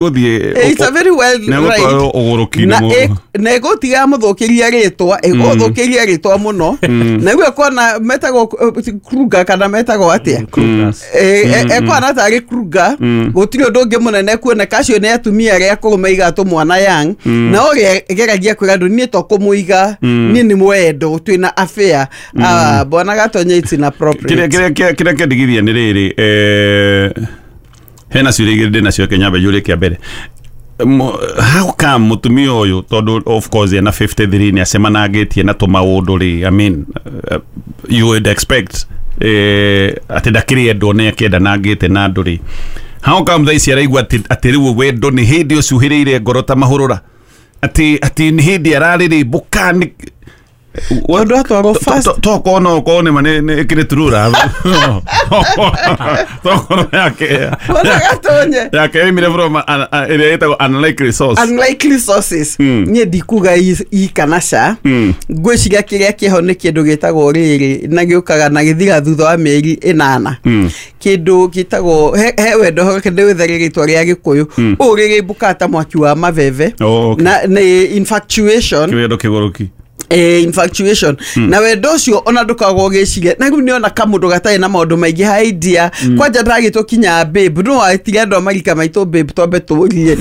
Gũthiĩ It's a very wild nĩ egũtwarwo ride. ũgũrũki-inĩ Na mũno. na ĩgũtiga mũthũkĩria rĩtwa, ĩgũthũkĩria rĩtwa mũno. Na rĩu ekuona metagwo Kruger kana metagwo atĩa? Ekuona tarĩ Kruger, gũtirĩ ũndũ ũngĩ mũnene kuoneka. Acio nĩ atumia arĩa akũrũ maigatwo mwana young, na ũrĩa geragia kwĩra andũ, niĩ to kũmũiga, niĩ nĩ mwendo, twĩna affair. Ah, bwana Gatonye, it's Kĩrĩa inappropriate. kĩrĩa kĩndigithia nĩ rĩrĩ, hena ciũria igĩrĩ ndĩ nacio, Kenya njũrie kĩa mbere. How come mũtumia ũyũ, tondũ of course ena 53, nĩ acemanangĩtie na tũmaũndũ rĩ, I mean, you would expect atĩ ndakĩrĩ endwo, nĩ akĩendanangĩte na andũ rĩ, how come thaa ici araigua atĩ rĩu wendo nĩ hĩndĩ ũcuhĩrĩire ngoro ta mahũrũra, atĩ nĩ hĩndĩ ararĩrĩmbũka nĩ Tondũ atwarwo fast. Tokorwo no ũkorwo nĩ ma nĩ ĩkĩrĩ turura, tokorwo yake Bwana Gatonye, yake yoimire from ĩrĩa ĩtagwo unlikely source. Unlikely sources. Niĩ ndikuga i kana ca. Ngwĩciria kĩrĩa kĩho nĩ kĩndũ gĩtagwo rĩrĩ, na gĩũkaga na gĩthira thutha wa mĩeri 8, kĩndũ gĩtagwo he wendo, reke ndĩwĩthere rĩtwa rĩa Gĩkũyũ, ũũ rĩrĩmbũkaga ta mwaki wa mabebe. Oh, okay. Na nĩ infatuation. Kĩwendo kĩgũrũki. Infatuation, na wendo ũcio ona ndũkoragwo ũgĩciria, na rĩu nĩona kamũndũ gatarĩ na maũndũ maingĩ ha idea. Kwanja ndagĩtwo kinya babe, no wetire andũ a marika maitũ babe, twambe tũrie.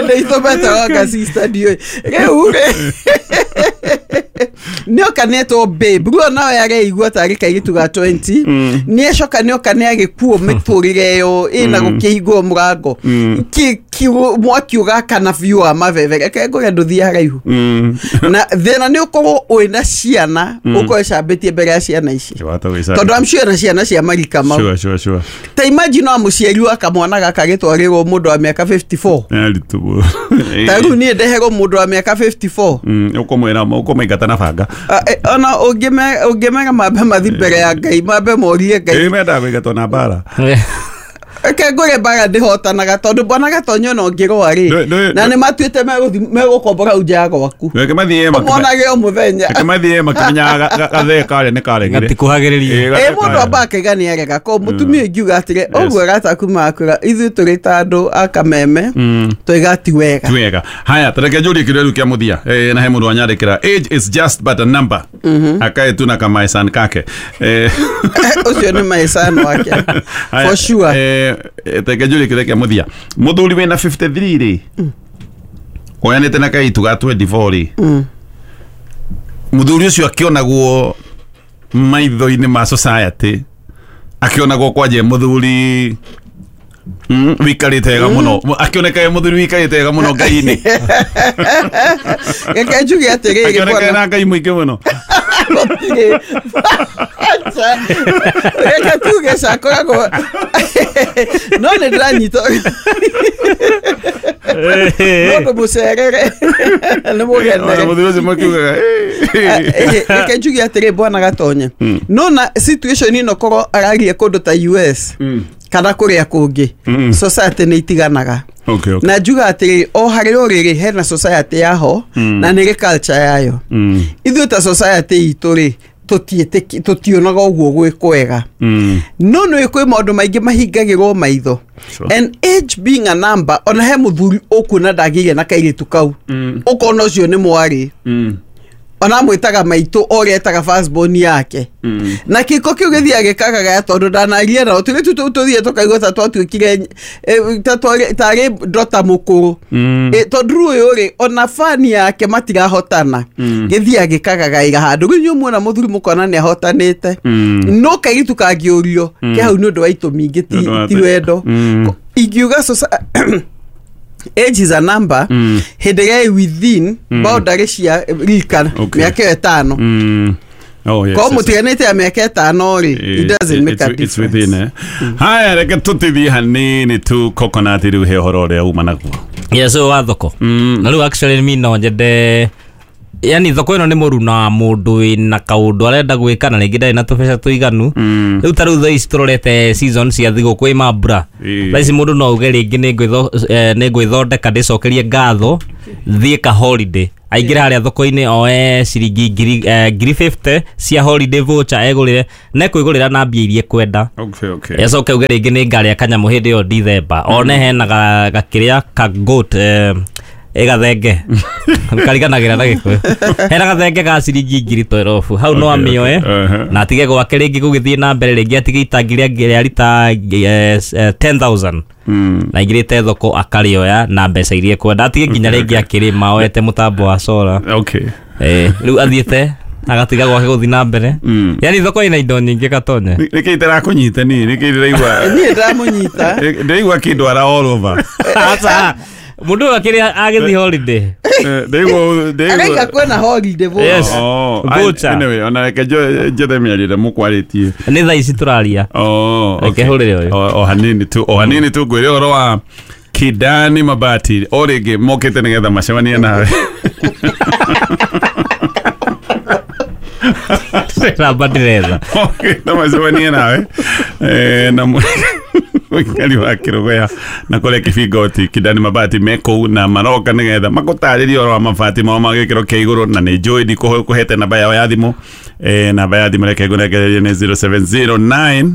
Nĩ itũmetaga nga sister, ndiũĩ rĩu rĩ nĩoka nĩetwo babe, rĩu onawe areigua tarĩ kairĩtu ga 20. Nĩecoka nĩoka nĩ agĩkuo mĩtũrĩre ĩyo ĩna gũkĩhingũrwo mũrango. Mwaki ũgakana biũ wa mabebe. Reke ngũre, ndũthiĩ haraihu. Na thĩna nĩ ũkorwo wĩna ciana, ũkorwo ĩcambĩtie mbere ya ciana ici, tondũ I'm sure na ciana cia marika mau. Sure, sure, sure. Ta imagine wa mũciari wa kamwana gaka gĩtwarĩrwo mũndũ wa mĩaka 54. Nĩ aritũ. Ta rĩu niĩ ndeherwo mũndũ wa mĩaka 54, Ũkũmwĩra ũkũmaingata na banga. Ah, ona ũngĩmera mambe mathi mbere ya Ngai, mambe morie Ngai. Ĩ, mendaga kũingatwo na mbara. Reke ngũre, mbara ndĩhotanaga, tondũ bwana Gatonyo ona ũngĩrũa rĩ, na nĩ matuĩte megũkombora hau nja ya gwaku, Reke mathiĩ ũmonage o mũthenya. Reke mathiĩ makĩmenyaga gathee karĩa nĩ karegire. Gatikuhagĩrĩria. Ĩ, mũndũ amba akaiga nĩ arega ko mũtumia ingiuga atĩrĩ ũguo gataku makwĩra ithuĩ tũrĩ ta andũ a kameme twaiga ti wega. Ti wega. Haya, tareke njũrie kĩũria rĩu kĩa mũthia. Na he mũndũ wanyandĩkĩra, "Age is just but a number," akae tu na kamaesan kake. Ũcio nĩ maecano wake. Haya, For sure. Reke njũrie kĩũria kĩa mũthia. Mũthuri wĩna 53 rĩ, oyanĩte na kairĩtu ga 24 rĩ, mũthuri ũcio akĩonagwo maitho-inĩ ma society, akĩonagwo kwanje mũthuri wikarĩte wega mũno, akĩoneka e mũthuri wikarĩte wega mũno Ngai-inĩ. Reke njuge atĩrĩrĩ, akĩoneka bwana na Ngai mũingĩ mũno. Gũtirĩ. Acha. Reke tuge cakoragwo no nĩ ndĩranyita mũndũ mũcerere nĩ mũgenere. Mũthuri ũcio makiugaga Reke njuge atĩrĩ, bwana Gatonye, no na situation ĩno korwo ararie kũndũ ta US kana kũrĩa kũngĩ, society nĩ itiganaga. Na njuga atĩrĩ, o harĩ rũrĩrĩ hena society yaho na nĩ rĩ culture yayo. Ithuĩ ta society itũ rĩ, tũtionaga ũguo gwĩ kwega, no nĩ kwĩ maũndũ maingĩ mahingagĩrwo maitho. And age being a number, ona he mũthuri ũkuona ndagĩire na kairĩtu kau, ũkona ũcio nĩ mwarĩ, ona mwĩtaga maitũ o ũrĩa etaga firstborn yake, na kĩko kĩu gĩthiaga gĩkagagaya tondũ ndanaria nao. Tũrĩ tu tũthiĩ tũkaigua ta twatuĩkire ta tarĩ ndota mũkũrũ. Tondũ rĩu ũyũ rĩ, ona bani yake matirahotana, gĩthiaga gĩkagagaĩra handũ. Rĩu inyuĩ muona mũthuri mũkona nĩ ahotanĩte, no kairĩtu kangĩũrio ke hau nĩ ũndũ wa itũmi ingĩ, Nĩ ũndũ wa ti wendo. Ingiuga age is a number hĩndĩ ĩrĩa ĩ within boundary cia rika, mĩaka ĩyo 5. Oh, yes, Korwo mũtiganĩte ya mĩaka 5 rĩ, it doesn't make a it's difference. within, eh? Haya, reke tũtithie hanini tu coconut rĩu, he ũhoro ũrĩa uma naguo. Yes, ũyũ wa thoko na rĩu actually mi no nyende Yani thoko ĩno nĩ mũruna wa mũndũ wĩna kaũndũ arenda gwĩka na rĩngĩ ndarĩ na tũbeca tũiganu. Rĩu ta rĩu thaa ici tũrorete season cia thigũkũ ĩ mambura. Thaa ici mũndũ no auge rĩngĩ nĩ ngwĩthondeka ndĩcokerie ngatho thiĩ ka holiday. Aingĩre harĩa thoko-inĩ oe ciringi ngiri 50 cia holiday voucher egũrĩre na ekwĩgũrĩra na mbia iria ekwenda. Okay, okay. Acoke auge rĩngĩ nĩ ngarĩa kanyamũ hĩndĩ ĩyo December. One hena gakĩrĩa ka goat ĩgathenge kariganagĩra na Gĩkũyũ. Hena gathenge ga ciringi ngiri 12 hau no amĩoe na atige gwake rĩngĩ gũgĩthiĩ na mbere rĩngĩ atige itangi rĩa rita 10,000 na aingĩrĩte thoko akarĩoya na mbeca iria ekwenda atige nginya rĩngĩ akĩrĩma oete mũtambo wa solar. Okay. Rĩu athiĩte agatiga gwake gũthiĩ na mbere. Yani thoko ĩna indo nyingĩ Gatonye. Nĩkĩ itarakũnyita niĩ? Nĩkĩ ndĩraigua? Niĩ ndĩramũnyita. Ndĩraigua kĩndwara all over. Aca. Mundu akiri agithi holiday. Ndĩigua kwĩna holiday voucher. Yes. Voucher. Anyway, ona reke njethe mĩario ĩrĩa mũkwarĩtie. Nĩ thaa ici tũraria. Oh, reke hũrĩre ũyũ. O hanini tu, o hanini tu ngwĩre ũhoro wa Kidani Mabati. O rĩngĩ mokĩte nĩgetha macemanie nawe. Namba ndĩretha. Mokĩte macemanie nawe. Na mũikari wa Kĩrũgũya na kũrĩa Kĩbingoti Kidani Mabati me kũu na maroka nĩgetha magũtarĩrie ũhoro wa mabati mao ma gĩkĩro kĩa igũrũ na nĩ njũĩ ndikũhete namba yao ya thimũ. Namba ya thimũ reke ngũnengererie nĩ 0709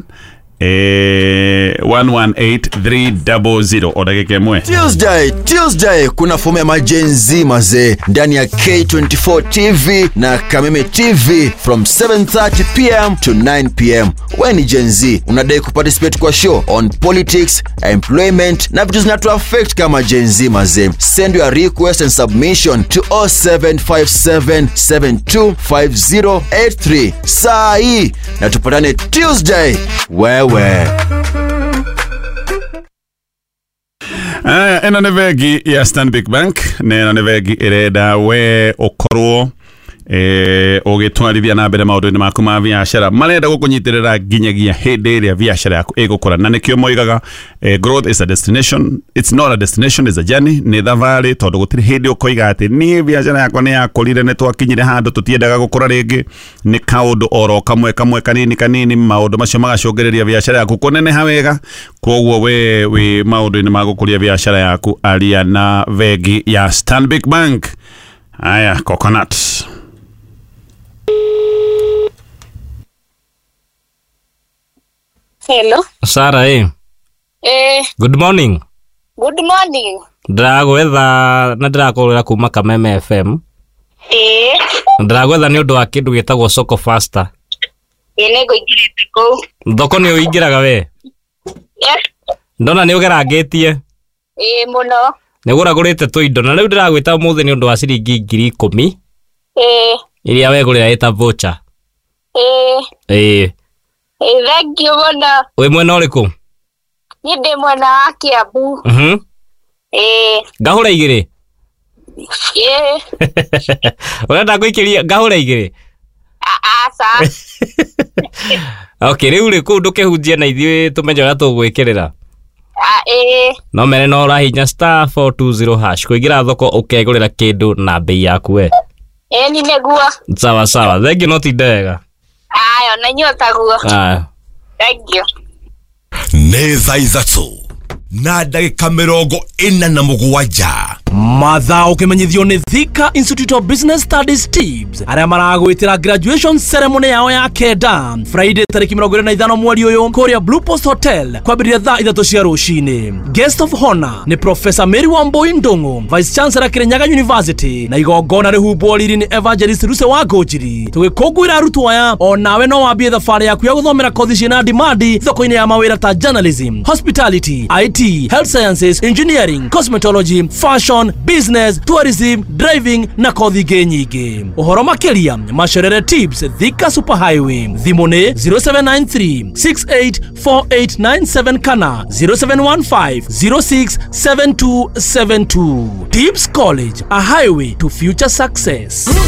118300 o ndagĩka ĩmwe. Tuesday kuna fomu ya Gen Z mazee ndani ya K24 TV na Kameme TV from 7:30 pm to 9 pm. We ni Gen Z, unadai kuparticipate kwa show on politics, employment na vitu zinatu affect kama Gen Z mazee. Send your request and submission to 0757725083 saa hii na tupatane Tuesday. Wewe ĩno nĩ bengi ya Stanbic Bank na ĩno nĩ bengi ĩrenda we ũkorwo ũgĩtwarithia na mbere maũndũ-inĩ maku ma biacara. Marenda gũkũnyitĩrĩra nginyagia hĩndĩ ĩrĩa biacara yaku ĩgũkũra, na nĩkĩo moigaga growth is a destination, it's not a destination, it's a journey. Nĩ thabarĩ, tondũ gũtirĩ hĩndĩ ũkoiga atĩ niĩ biacara yakwa nĩ yakũrire, nĩ twakinyire handũ tũtiendaga gũkũra rĩngĩ. Nĩ kaũndũ oro kamwe kamwe kanini kanini, maũndũ macio magacũngĩrĩria biacara yaku kũneneha wega. Kwoguo we wĩ maũndũ-inĩ ma gũkũria biacara yaku, aria na bengi ya Stanbic Bank. Aya, Coconut. Hello. Sarah, eh. Good morning. Good morning. Ndĩragwetha na ndĩrakũrĩra kuma Kameme FM. Ndĩragwetha nĩ ũndũ wa kĩndũ gĩtagwo Soko Faster. Nĩ ngũingĩrĩte kũu. Thoko nĩ ũingĩraga we? Yes. Ndona nĩ ũgerangĩtie. Ĩĩ mũno. Nĩ ũgũragũrĩte tũindo na rĩu ndĩragwĩta ũmũthĩ nĩ ũndũ wa ciringi 10,000. Iria wegũrĩra ĩta voucher. Ĩĩ. Thank you mũno. Wĩ mwena ũrĩkũ? Niĩ ndĩ mwena wa Kiambu. Ngahũra igĩrĩ? Ĩĩ. Ũrenda ngũikĩrie ngahũra igĩrĩ? Aca. Okay, rĩu rĩ kũu ndũkĩhunjie na ithuĩ tũmenye ũrĩa tũgwĩkĩrĩra. Ĩĩ. No mere no ũrahinya *420# kũingĩra thoko ũkegũrĩra kĩndũ na bei yaku we. Ĩĩ ni nĩguo. Sawa sawa, thengiũ no tinde wega. Ayo, na inyuĩ taguo. Aya. Thank you. Nĩ thaa ithatũ na ndagĩka 47. Mathaa ũkĩmenyithio nĩ Thika Institute of Business Studies TIBS arĩa maragwĩtĩra graduation ceremony yao ya kenda Friday tarĩki 25 mweri ũyũ kũrĩa Blue Post Hotel kwambĩrĩria thaa 3 cia rũcinĩ. Guest of honor nĩ Professor Mary Wambui Ndung'u, Vice Chancellor Kirinyaga University, na igongona rĩhumbwo riri nĩ Evangelist Ruse wa Ngũnjiri. Tũgĩkũngũĩra arutwo aya, o nawe no wambie thabarĩ yaku ya gũthomera kothi ciĩna demand thoko-inĩ ya mawĩra ta journalism, hospitality, IT, health sciences, engineering, cosmetology, fashion, business, tourism, driving na kothi ingĩ nyingĩ. Ũhoro makĩria macerere TIBS Thika Super Highway. Thimũ nĩ 0793 684897 kana 0715 067272. TIBS College, a highway to future success.